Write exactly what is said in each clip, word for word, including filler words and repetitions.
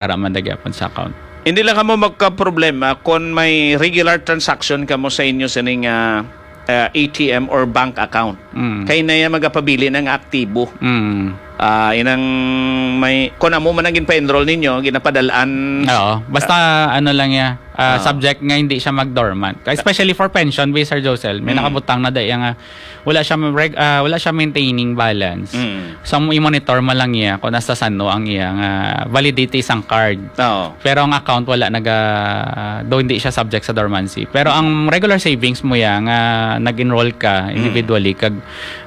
ara man na gyapon sa account. Hindi lang kamo magkaproblema kung may regular transaction kamo sa inyo sining, ah, ah, A T M or bank account. Mm. Kay na yan magapabilin ang aktibo. Mm. Ah, inang may, kung amo man ang ginpa-enroll ninyo, ginapadalaan. Oo. Basta ano lang ya, ah, Ah. subject nga hindi siya mag-dormant. Especially for pension, bi, Sir Josel, may Mm. nakabutang na dai nga wala siya reg-, ah, wala siya maintaining balance. Mm. So, ang i-monitor mo lang iya kung nasa sano ang iya nga validity sang card. Oo. Pero ang account wala naga, do hindi siya subject sa dormancy. Pero ang regular savings mo ya nga nag-enroll ka Mm. individually kag,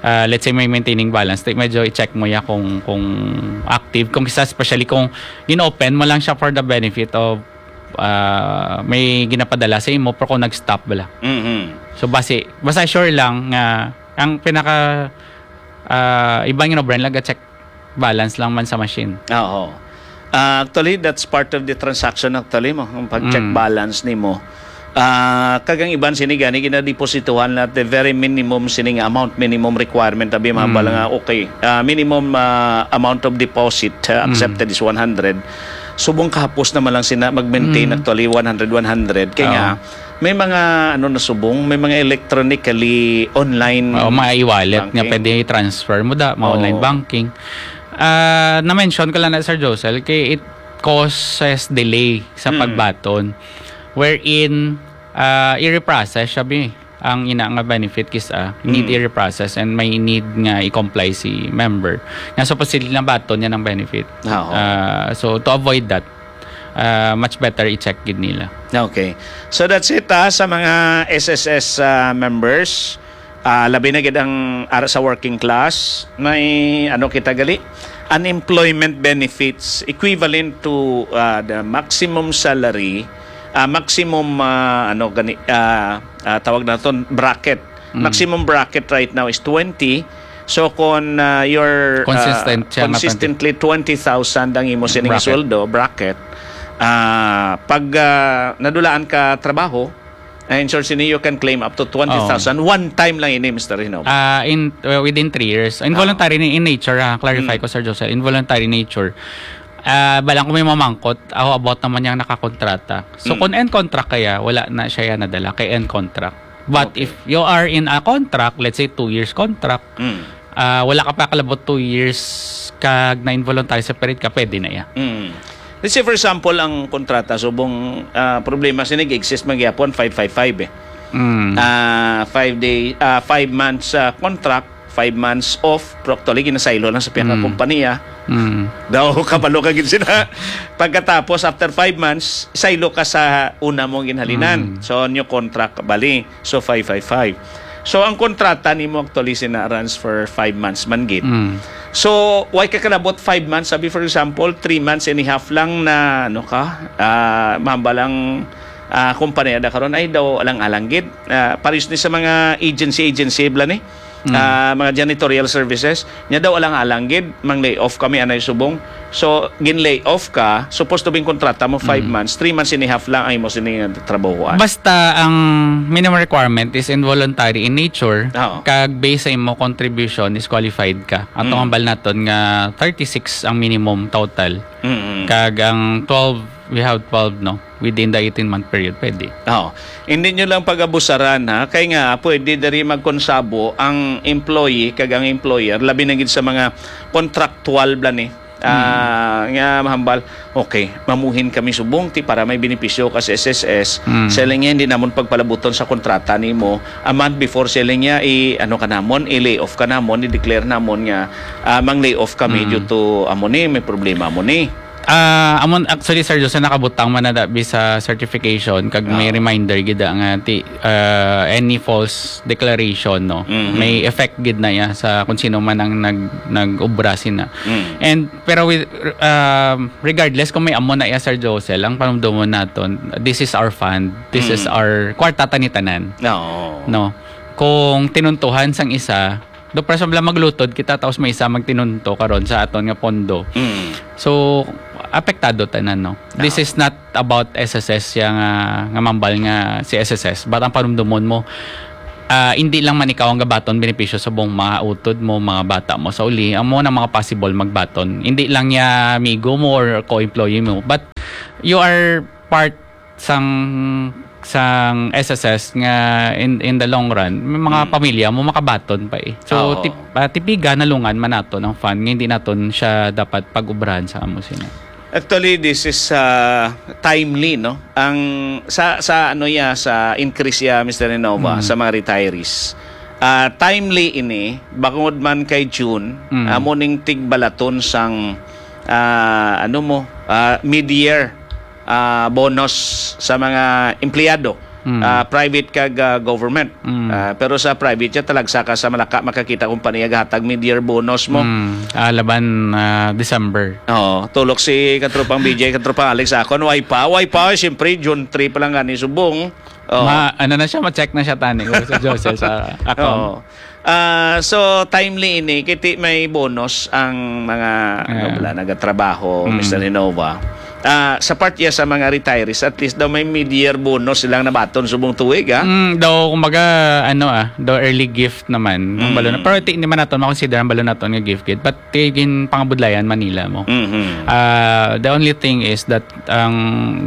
ah, let's say may maintaining balance, ti-, medyo i-check mo ya kung, kung active, kung isa, especially kung in-open mo lang siya for the benefit of, ah, may ginapadala sa imo, pero kung nag-stop bala. Mhm. So, basi, basta sure lang nga ang pinaka, ah, iba nga no, Bren, laga check balance lang man sa machine. Oo. Ah, actually, that's part of the transaction actually mo, ang pag-check Mm. balance nimo. Ah, kag ang iban sini gani ginadepositohan na the very minimum sini nga amount, minimum requirement, abi, mga Mm. bala nga, okay, ah, minimum, ah, amount of deposit, ah, Mm. accepted is one hundred. Subong kahapos naman lang sina mag-maintain Mm. actually one hundred, one hundred. Kaya Oo. nga, may mga ano na subong, may mga electronically online Oo, mga e-wallet nga banking. Pwede i-transfer mo da, mga Oo. online banking. Ah, na-mention ko lang na, Sir Josel, kay it causes delay sa Mm. pagbaton, wherein, ah, i-reprocess siya, bi, ang ina nga benefit kis-a, need Mm. i-reprocess and may need nga i-comply si member. Nga supposedly nabaton niya ng benefit. Ah, oo. Ah, so, to avoid that, ah, much better i-check gid nila. Okay. So, that's it, ah, sa mga S S S, ah, members. Ah, labi na gid ang ara sa working class, may ano kita gali, unemployment benefits equivalent to, ah, the maximum salary, ah, maximum, ah, ano gani, ah, ah, tawag naton bracket. Mm. Maximum bracket right now is twenty. So kung, ah, you're, ah, Consistent siya nga consistently twenty thousand ang imo sining Bracket. sweldo, bracket, ah, pag, ah, nadulaan ka trabaho, I ensure sini you can claim up to twenty thousand. Oo. One time lang ini, Mister Hinob. Ah, in, uh, within three years. Involuntary Oo. ni in nature, ha. Clarify Mm. ko, Sir Josel. Involuntary nature. Ah, balang ko may mamangkot, ako about naman yang nakakontrata. So, Mm. kung end contract kaya, wala na siya yan nadala kay end contract. But Okay. if you are in a contract, let's say two years contract, Mm. ah, wala ka pa kalabot two years, kag na-involuntary separate ka, pwede na iya. Mm. Let's say, for example, ang kontrata, subong, ah, problema sini, exist man gyapon, five five five eh. Mm. Ah, five day, ah, five months, ah, contract, five months off, pero actually, ginasaylo lang sa pihak nga Mm. kompanya. Mm. Daw, kabalo ka gid sila. Pagkatapos, after five months, saylo ka sa una mong ginhalinan. Mm. So, new contract, bali. So, five five five. So, ang kontrata nimo actually sina runs for five months man gid. Mm. So, why ka kalabot five months? Sabi, for example, three months and a half lang na, ano ka, ah, mamba lang, ah, kumpanya na karon, ay daw alang-alang gid. Ah, pares ni sa mga agency, agency, bala ni. Mm. Ah, mga janitorial services. Nya daw alang-alang gid, mang lay off kami, anay subong. So, gin lay off ka, supposed to be kontrata mo five Mm. months, three months and a half lang ang imo sini nga trabahoan. Basta ang minimum requirement is involuntary in nature, Oo. kag based sa imo contribution, disqualified ka. Ato Mm. ang bal naton nga thirty-six ang minimum total. Mm-mm. Kag ang twelve, we have twelve, no? Within the eighteen-month period, pwede. Oo. Hindi nyo lang pag-abusaran, ha? Kay nga, pwede diri magkonsabo ang employee kag ang employer, labi na gid sa mga contractual bala ni. Ah, Mm. nga mahambal, okay, mamuhin kami subong ti para may benepisyo ka sa S S S. Mm. Siling niya, hindi namon pagpalabuton sa kontrata nimo. A month before, siling niya, i-, ano ka namon, i-lay off ka namon, i-declare namon nga, ah, mang lay off kami Mm. due to amo ni, may problema mo ni. Ah, amon, actually, Sir Jose, nakabutang man na da bi sa certification, kag may Oo. reminder gid da nga ti-, ah, any false declaration, no? Mhm. May effect gid na iya sa kung sino man ang nag-, nag-obra sina. Mm. And, pero with, um, regardless kung may amo na iya, Sir Jose, ang panumdumon naton, this is our fund, this is Mm. our kwarta ta ni tanan. Oo. No? Kung tinuntuhan sang isa, do, for example, maglutod kita, tapos may isa magtinunto karon sa aton nga pondo. Mm. So, apektado tanan, no? This Ah. is not about S S S siya nga, nga mambal nga si S S S, but ang panumdumon mo, ah, hindi lang man ikaw ang gabaton benepisyo sa buong mga utod mo, mga bata mo sa uli, amo na mga possible magbaton. Hindi lang niya amigo mo or co-employee mo, but you are part sang sang S S S nga in in the long run, may mga Mm. pamilya mo makabaton pa eh. So, Oo. tip ah, tipiga nalungan man nato ng fund nga hindi naton siya dapat pag-ubrahan sa amo sina. Actually, this is, ah, timely, no? Ang sa sa ano ya, sa increase ya, Mister Renova, Mm. sa mga retirees. Ah, timely ini, bangod man kay June, Mm. amo ning tigbalaton sang, ah, ano mo, ah, mid-year, ah, bonus sa mga empleyado, Mm. ah, private kag, ah, government. Mm. Ah, pero sa private ya, talagsa ka sa Malacca, makakita kung paano ya gahatag mid-year bonus mo. Mm. Ah, laban, ah, December. Oo, tulok si katropang B J, katropang Alex, akon, way pa, way pa, siyempre, June three pa lang gani subong. Oo. Ma, ano na siya, ma-check na siya, tani, ko sa Josel sa account. Oo. Ah, so, timely ini, kiti may bonus ang mga, ano Ah. bala, nagatrabaho, Mm. Mister Renova. Ah, sa part ya sa mga retirees, at least daw may mid-year bonus silang nabaton subong tuig, ah. Mm, daw, kumbaga, ano, ah, daw early gift naman. Ang Mm. balon, pero ti, hindi man naton makonsider ang balon naton nga gift gid. But ti, ginpangabudlayan man nila mo. Mhm. Ah, the only thing is that ang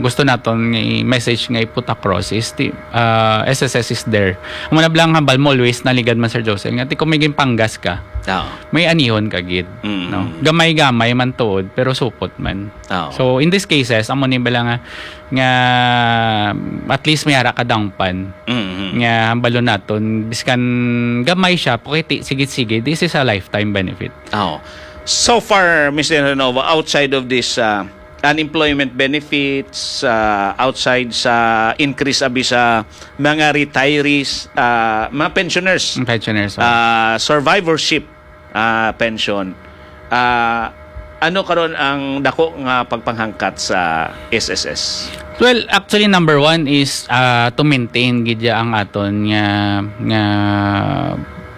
gusto naton nga i-message nga i-put across is ti, ah, S S S is there. Ang muna bala nga hambal mo, always naligad man, Sir Josel, nga ti kung may ginpanggas ka, Oo. may anihon ka gid, Mm. no? Gamay-gamay man tuod, pero supot man. Oo. So, in these cases, amo ni bala nga, nga at least may ara ka dangpan. Mm-hmm. Nga hambalon naton, biskan gamay siya, pukiti, sige-sige, this is a lifetime benefit. Oh. So far, Mister Renova, outside of this, uh, unemployment benefits, uh, outside sa increase abi sa mga retirees, uh, mga pensioners, Ang pensioners, oh. uh, survivorship, uh, pension, uh, ano karon ang dako nga pagpanghangkat sa S S S? Well, actually, number one is, uh, to maintain gid ya ang aton nga, nga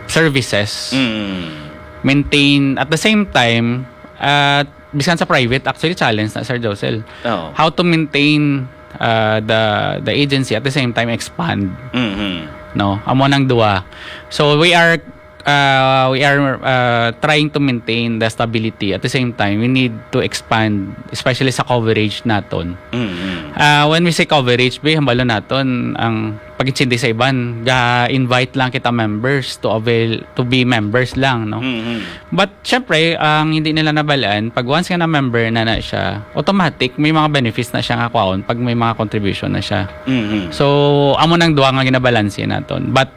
services. Mm. Maintain, at the same time, uh, bisan sa private, actually, challenge na, Sir Josel. Oo. How to maintain, uh, the, the agency, at the same time expand. Mm-hmm. No, amo nang duwa. So, we are, uh, we are, uh, trying to maintain the stability. At the same time, we need to expand, especially sa coverage naton. Mm-hmm. Uh, when we say coverage, be, hambalon naton ang pag-intindi sa iban, ga-invite lang kita members to avail, to be members lang, no? Mm-hmm. But, syempre, ang hindi nila nabalaan, pag once nga na-member na na siya, automatic, may mga benefits na siya nga kwaon pag may mga contribution na siya. Mm-hmm. So, amo nang duha nga ginabalanse naton. But,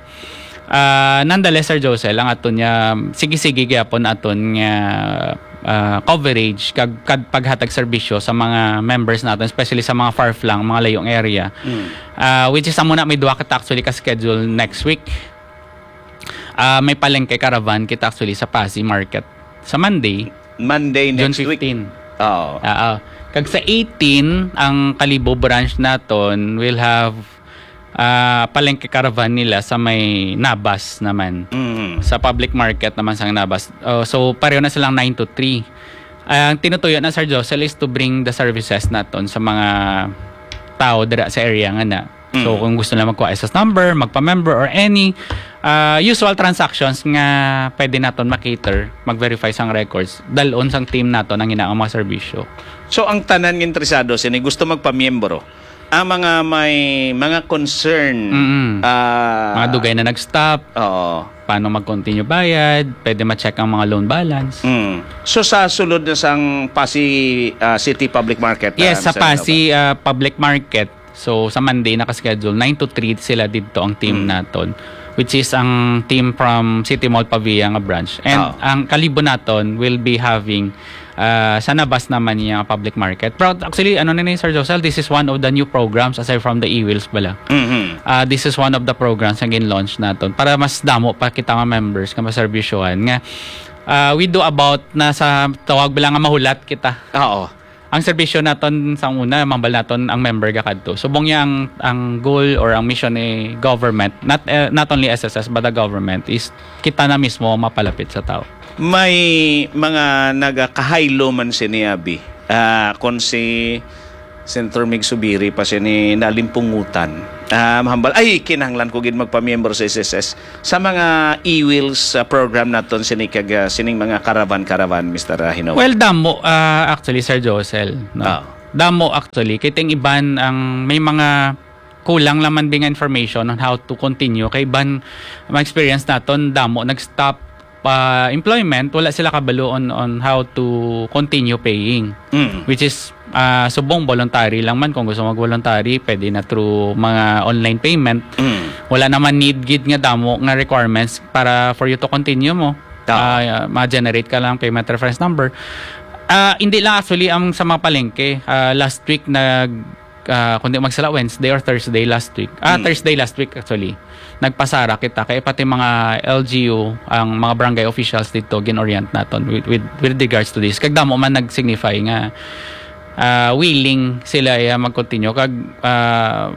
ah, nonetheless, Sir Josel, ang aton nga, sige-sige gyapon aton nga, ah, coverage, kag, kag paghatag serbisyo sa mga members naton, especially sa mga far-flung, mga layong area. Mm. Ah, which is, amo na, may duha kita actually ka-schedule next week. Ah, may palengke caravan kita actually sa Passi Market sa Monday, Monday June next week. fifteen. Oo. Oo. Kag sa eighteen, ang Kalibo branch naton will have, ah, palengke caravan nila sa may Nabas naman. Mm. Sa public market naman sa Nabas. Oh, so, pareho na silang nine to three. Ang tinutuyo na, Sir Josel, is to bring the services naton sa mga tao dira sa area nga na. So, Mm. kung gusto nila magkuha S S number, magpa-member, or any, ah, usual transactions nga pwede naton ma-cater, mag-verify sang records, dalon sang team naton ang ina-, ang mga serbisyo. So, ang tanan nga interesado sini gusto magpamiyembro, ang mga may mga concern, Mm-mm. ah, Mga dugay na nag-stop, Oo. paano mag-continue bayad, pwede ma-check ang mga loan balance. Mm. So, sa sulod na sang Passi, ah, City Public Market, Yes, ah, sa Mister Passi, Nova? ah, Public Market, so, sa Monday, naka-schedule, nine to three sila didto ang team Mm. naton, which is ang team from City Mall Pavia nga branch. And Oo. ang Kalibo naton will be having, ah, sa Nabas naman niya public market. Pero actually, ano na ni, Sir Josel, this is one of the new programs aside from the e-wheels bala. Mhm. Ah, this is one of the programs nga gin-launch naton para mas damo pa kita nga members nga maserbisyohan nga, ah, we do about na sa tawag bala nga mahulat kita. Oo. Ang serbisyo naton sa una, mambal naton ang member gakadto. Subong niya ang, ang goal or ang mission ni government, not, eh, not only S S S but the government, is kita na mismo ang mapalapit sa tao. May mga nagakahaylo man sini, abi. Ah, kung si, Senator Mig Subiri pa sini nalimpungutan. Ah, mahambal, ay, kinahanglan ko gid magpamiyembro sa S S S sa mga e-wheels, ah, program naton sini kag, ah, sining mga caravan-caravan, Mister Hino. Well, damo, ah, actually, Sir Josel, no? Ah. Damo, actually. Kay ting iban ang may mga kulang lang man bing information on how to continue. Kay iban, ma-experience naton, damo nag-stop, ah, employment, wala sila kabalo on, on how to continue paying. Mm. Which is, ah, subong voluntary lang man. Kung gusto mag-voluntary, pwede na through mga online payment. Mm. Wala naman need gid nga damo nga requirements para for you to continue mo. Tama. Ah, ma-generate ka lang payment reference number. Ah, hindi lang actually ang sa mga palengke. Ah, last week nag, ah, kung di magsala, Wednesday or Thursday last week. Ah, Mm. Thursday last week actually. Nagpasara kita kay pati mga L G U, ang mga barangay officials dito gin-orient naton with, with, with regards to this. Kag damo man nag-signify nga, ah, willing sila, eh, mag-continue. Kag, ah,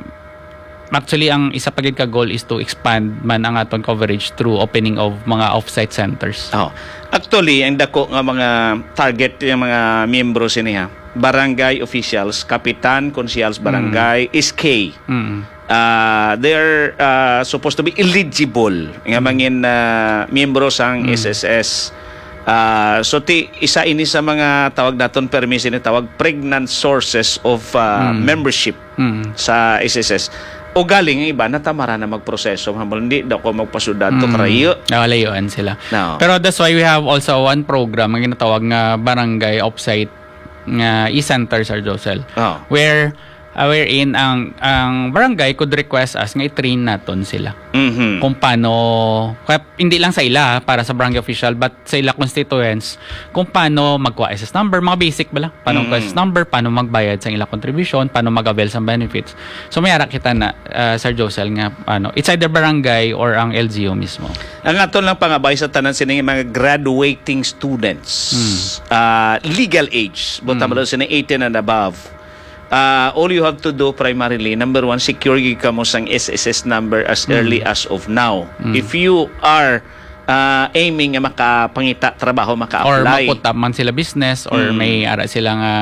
actually, ang isa pa gid ka goal is to expand man ang aton coverage through opening of mga off-site centers. Oh. Actually, ang dako nga mga target, yung mga miyembro sini, ha, barangay officials, kapitan, konsehal sa barangay, Mm. S K. Mm. Ah, they're, ah, supposed to be eligible nga Mm. mangin, ah, miyembro sang Mm. S S S. Ah, so ti isa ini sa mga tawag naton permi sini tawag pregnant sources of, ah, Mm. membership Mm. sa S S S. O galing ang iba natamara na magproseso, mahambal, hindi daw ko magpasudad to Mm. karayo. Ah, layuan sila. No. Pero that's why we have also one program nga ginatawag nga barangay offsite nga e-center, Sir Josel. Oh. Where, ah, wherein ang, ang barangay could request us nga i-train naton sila. Mhm. Kung paano, kaya hindi lang sa ila, para sa barangay official, but sa ila constituents, kung paano magkuha S S number, mga basic ba lang? Paano magkuha Mm. S S number, paano magbayad sa ila contribution, paano mag-avail sa benefits. So, may ara kita na, ah, Sir Josel, nga, ano, it's either barangay or ang L G U mismo. Ang aton lang pangabay sa tanan sining mga graduating students, Mm. ah, legal age, buta Mm. mo daw sini eighteen and above. Ah, all you have to do primarily, number one, secure gid kamo sang S S S number as Mm. early as of now. Mm. If you are, ah, aiming nga makapangita trabaho, Or maka-apply. Mag-put up man sila business or Mm. may ara sila nga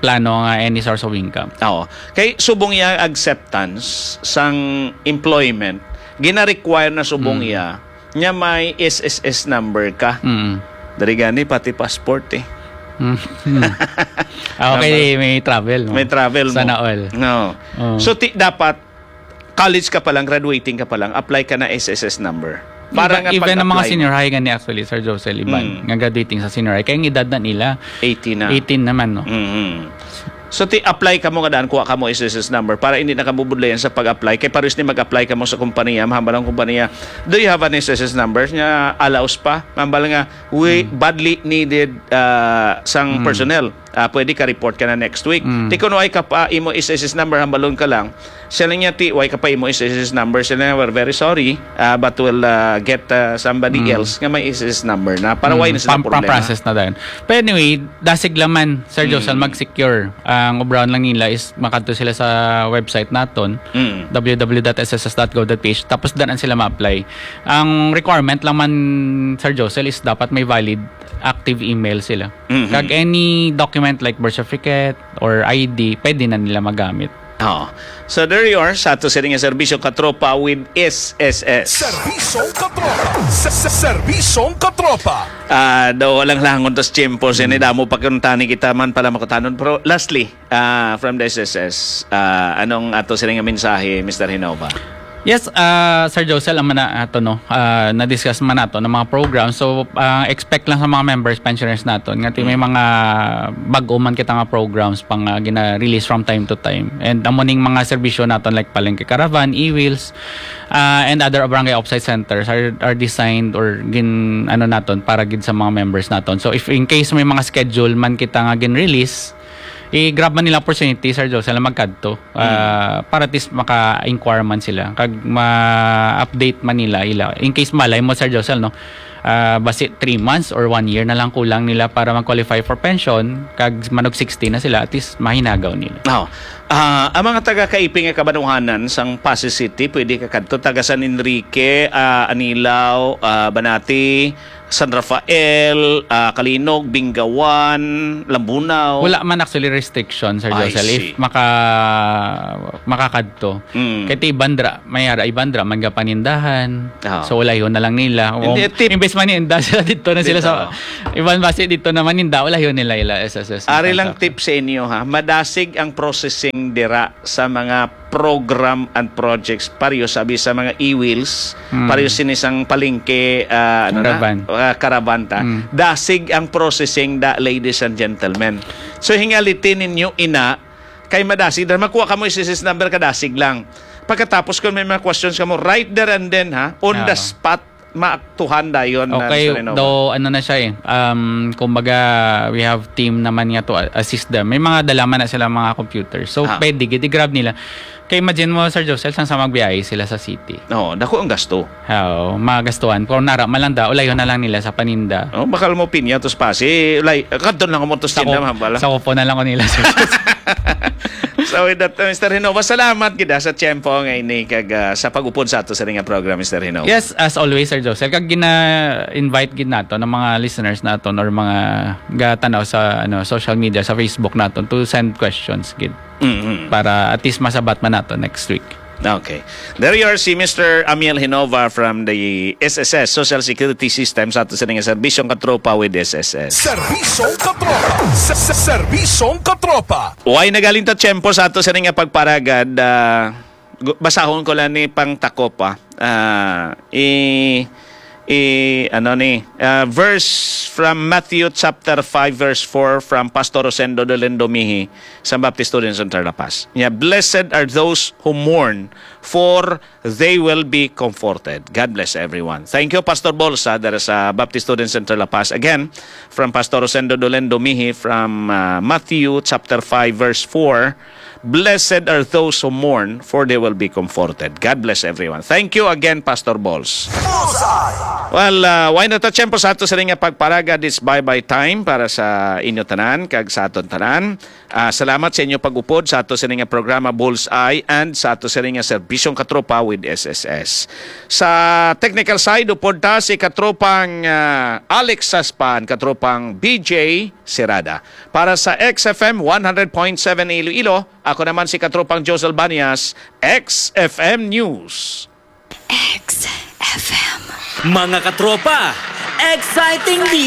plano nga any source of income. Oo. Kay subong iya acceptance sang employment, gina-require na subong Mm. iya nga may S S S number ka. Mm. Dari gani pati passport eh. Mm. Mm. Ah, okay, Number. May travel, no? May travel Sana mo. All. No. Oh. So, ti-, dapat college ka pa lang, graduating ka pa lang, apply ka na S S S number. Para Even, nga even ang mga pag-apply mo. Senior high gani actually, Sir Josel, iban, Mm. nga graduating sa senior high, kaya ang edad na nila, Eighteen na. Eighteen naman, no? Mm-hmm. So, ti-, apply ka mo nga daan, kuha ka mo S S S number para hindi na ka mabudlayan sa pag-apply. Kay pares ni mag-apply ka mo sa kompanya, mahambal ang kompanya, "Do you have an S S S number?" Nga allows pa. Mahambal nga, "We Mm. badly needed, ah, sang Mm. personnel." Ah, pwede ka report ka na next week. Mm. Ti kung way ka pa imo S S S number, hambalon ka lang. Sila niya, "Ti, way ka pa imo S S S number." Sila niya, "We're very sorry, ah, but we'll, ah, get, ah, somebody Mm. else nga may S S S number na." Para Mm, way na sila pam-, problema. Pam-process na dayon. But anyway, dasig laman, Sir Josel, Mm. mag-secure. Ang ubraon lang nila is makadto sila sa website naton, Mm. W W W dot S S S dot gov dot P H, tapos danan sila ma-apply. Ang requirement lang man, Sir Josel, is dapat may valid active email sila. Mhm. Kag any document like birth certificate or I D, pwede na nila magamit. Oo. So there you are, sa ato sini nga serbisyo katropa with S S S. Serbisyong katropa. Se-, se-, serbisyong katropa. Ah, daw walang langon tas tiyempo, sini Mm. damo pa kuntani kita man pala makutanon. Pero lastly, ah, from the S S S, ah, anong ato sini nga mensahe, Mister Hinova? Yes, ah, Sir Josel, ang mana ato, no, ah, na-discuss man nato ng mga program. So, ah, expect lang sa mga members, pensioners naton nga ti may Mm. mga bag-o man kita nga programs pang, ah, gina-release from time to time. And amo ning mga serbisyo naton like Palengke Caravan, e-wheels, ah, and other barangay offsite centers are, are designed or gin, ano naton, para gid sa mga members naton. So, if in case may mga schedule man kita nga gin-release, i-grab man nila opportunity, Sir Josel, na magkadto. Ah, Mm. para at least maka-inquire man sila. Kag ma-update man nila ila. In case malay mo, Sir Josel, no? Ah, basi three months or one year na lang kulang nila para mag-qualify for pension. Kag manog sixty na sila, at least mahinagaw nila. Oh. Ah, ang mga taga-Kaipi nga kabanuhanan sang Passi City, pwede ka kadto. Taga San Enrique, ah, Anilao, ah, Banati, San Rafael, ah, Calinog, Bingawan, Lambunao. Wala man actually restriction, Sir I Josel, see. if maka makakadto. Mm. Kay ti Ibandra, may ara Ibandra man gapanindahan. Ah. So ulayhon na lang nila. O, Hindi, tip- imbes man ninda sila dito na sila Dito. Sa iban basi dito naman ninda, ulayhon nila ila S S S. Ari lang tip sa inyo, ha, madasig ang processing dira sa mga program and projects, pareho sabi sa mga e-wheels, Hmm. pareho sini sang palengke, ah, ano Caravan. na? Ah, caravan ta. Hmm. Dasig ang processing da, ladies and gentlemen. So hingalitin ninyo ina kay madasig, dahil makuha ka mo S S S number, kadasig lang. Pagkatapos kung may mga questions ka mo, right there and then, ha, on the Oo. spot, maaktuhan dayon na, Okay, Mister Renova. Though ano na siya eh. Um, kumbaga, we have team naman nga to a- assist them. May mga dalaman na sila mga computer. So, Ah. pwede, gid, i-grab nila. Kay imagine mo, Sir Josel, sang sa magbiyahe sila sa city. Oo, dako ang gasto. Oo, magastuhan. Pero nara man lang da, ulayhon na lang nila sa paninda. Oh, bakal mo pinya tos pasi, like, kadto lang mo tos Sa tinda, ko, mabala. sa kupo na lang ko nila, Sir Josel. So with that, uh, Mister Renova, salamat gid, ah, sa tiyempo nga ini kag, ah, sa pag-upod sa ato sa nga program, Mister Renova. Yes, as always, Sir Josel, kag gina-invite gid nato ng mga listeners naton or mga gatanaw sa ano social media, sa Facebook naton to send questions gid Mhm. para at least masabat man nato next week. Okay. There you are, si Mister Amiel Hinova from the S S S, Social Security System, sa ato sa nga Serbisyong Katropa with S S S. Serbisyong Katropa. Sa, sa, Serbisyong Katropa. Way nagaling ta tiyempo sa ato sa nga pagparagad. Ah, gu- basahon ko lang ni pang takop, ah. Ah, i, i, ano ni, ah, verse from Matthew chapter five, verse four, from Pastor Rosendo Dolendo Mihi sa Baptist Students Center La Paz. Yeah, "Blessed are those who mourn, for they will be comforted." God bless everyone. Thank you, Pastor Bolsa, there sa Baptist Students Center La Paz. Again, from Pastor Rosendo Dolendo Mihi from, ah, Matthew chapter five, verse four, "Blessed are those who mourn, for they will be comforted." God bless everyone. Thank you again, Pastor Bols. Bullseye. Well, uh, way na ta tiyempo sa ato sa nga pagparagad. It's bye-bye time para sa inyo tanan kag sa aton tanan. Ah, salamat sa inyo pag-upod sa ato sa nga programa Bullseye and sa ato sa nga serbisyong katropa with S S S. Sa technical side, upod ta si katropang, ah, Alex Saspan, katropang B J Serada. Para sa X F M one hundred point seven Iloilo, ako naman si katropang Josel Banias, X F M News. X F M. Mga katropa, exciting dito!